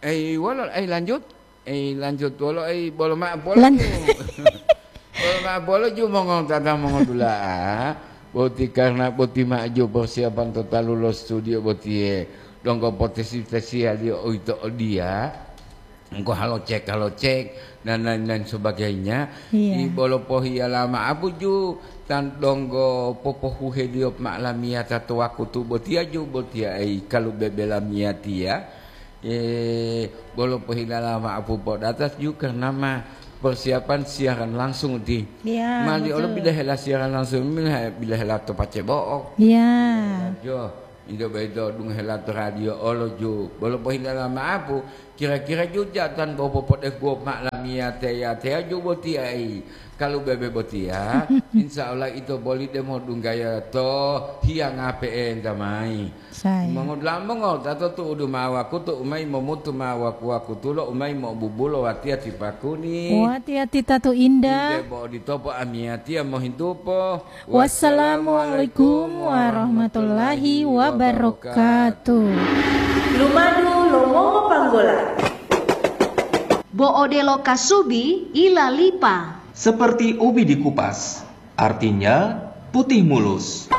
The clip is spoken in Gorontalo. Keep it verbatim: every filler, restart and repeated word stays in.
Ei, wolo, ei, lanjut. Ei, lanjut wolo, ei, bolo ma'o polo Lan- ju. Bolo ma'o polo ju mongotata mongodula'a. Boti karena boti ma'o ju persiapan to talu lo studio botiye. Donggo potesi-tesiyaliyo uwito odiya. Engko halo cek, halo cek, dan lain-lain sebagainya. Iya. I bolo pohiyala ma'apu ju, tan donggo popohuheliyo ma'o lamiyata to wakutu botiya ju botiya, ei, kalu bebe lamiyatiya. Eh, bolo pohilala ma'apu podatas ju karena ma persiapan siaran langsung ti. Iya, mali olo betul. Bila hela siaran langsung, mila he-, bila hela to pace bo'o. Iya. Jo, indo boyito dungohela to radio olo ju. Bolo pohilala ma'apu, kira-kira ju jatan bo popodekuwo ma'o lamiyate-yateya ju boti ai. Kalu bebe botiya, insya Allah ito boli demo dunggaya to hiyanga pe'enta mai. Saya. Mongodula'a mongotata tu'udu ma'o wakutu u mayi momutu ma'o waku-wakutulo u mayi mo'obubulo watiya ti pakuni. Watiya ti tatu indah. Ide bo oditopo amiyatiya mohintupo. Wassalamualaikum warahmatullahi wabarakatuh. Lumadu lo mongopanggola. Bo odelo kasubi ilalipa. Seperti ubi dikupas, artinya putih mulus.